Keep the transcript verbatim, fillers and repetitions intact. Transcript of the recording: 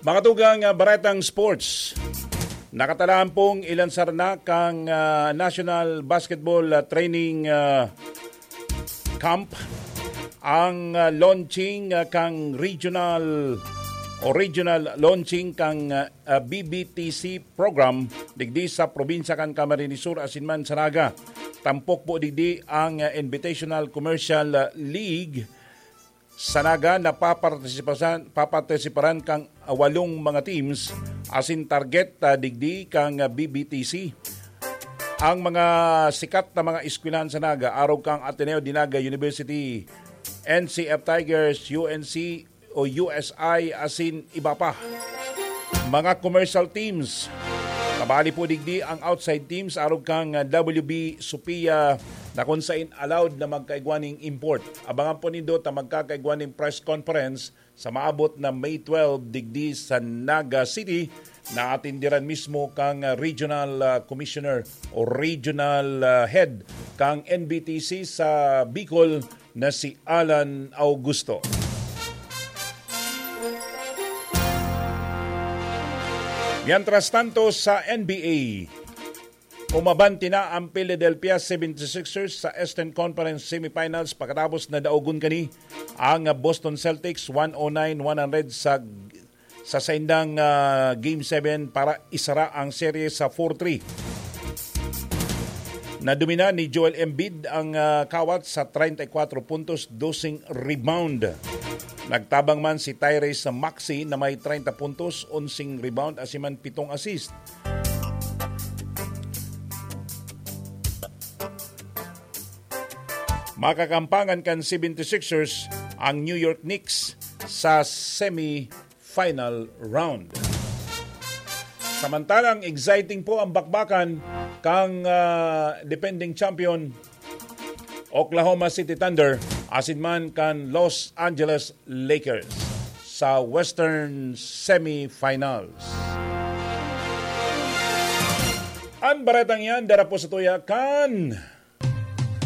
Mga tugang, ah, baretang sports. Nakatalaan pong ilansar na kang, ah, National Basketball, ah, Training, ah, Camp ang, ah, launching, ah, kang regional o regional launching kang, ah, ah, B B T C program digdi sa probinsya kan Camarines Sur asin man sa Naga. Tampok po digdi ang, ah, Invitational Commercial, ah, League sa Naga na papartisipasan, papartisiparan kang walong mga teams asin target, ah, digdi kang, ah, B B T C. Ang mga sikat na mga eskwelahan sa Naga, arog kang Ateneo de Naga University, N C F Tigers, U N C o U S I, asin iba pa. Mga commercial teams. Kabali po digdi ang outside teams, arog kang, ah, W B Sophia, na kung sain allowed na magkaigwa ning import. Abangan po nindo ta magkakaigwa ning press conference sa maabot na May twelve digdi sa Naga City, na atindiran mismo kang, ah, regional, ah, commissioner o regional, ah, head kang N B T C sa Bicol na si Alan Augusto. Mientras tanto, sa N B A, umabanti na ang Philadelphia seventy-sixers sa Eastern Conference Semifinals pagkatapos na daogon kani ang Boston Celtics one oh nine one hundred sa, sa saindang, ah, Game seven para isara ang serye sa four three. Nadomina ni Joel Embiid ang, ah, kawat sa treinta y cuatro puntos, doseng rebound. Nagtabang man si Tyrese Maxey na may treinta puntos, onseng rebound, asin man pitong assist. Makakampangan kan seventy-sixers ang New York Knicks sa semi-final round. Samantalang exciting po ang bakbakan kang, ah, defending champion Oklahoma City Thunder asin man kan Los Angeles Lakers sa Western Semifinals. An baretang yan, dara po sa tuya kan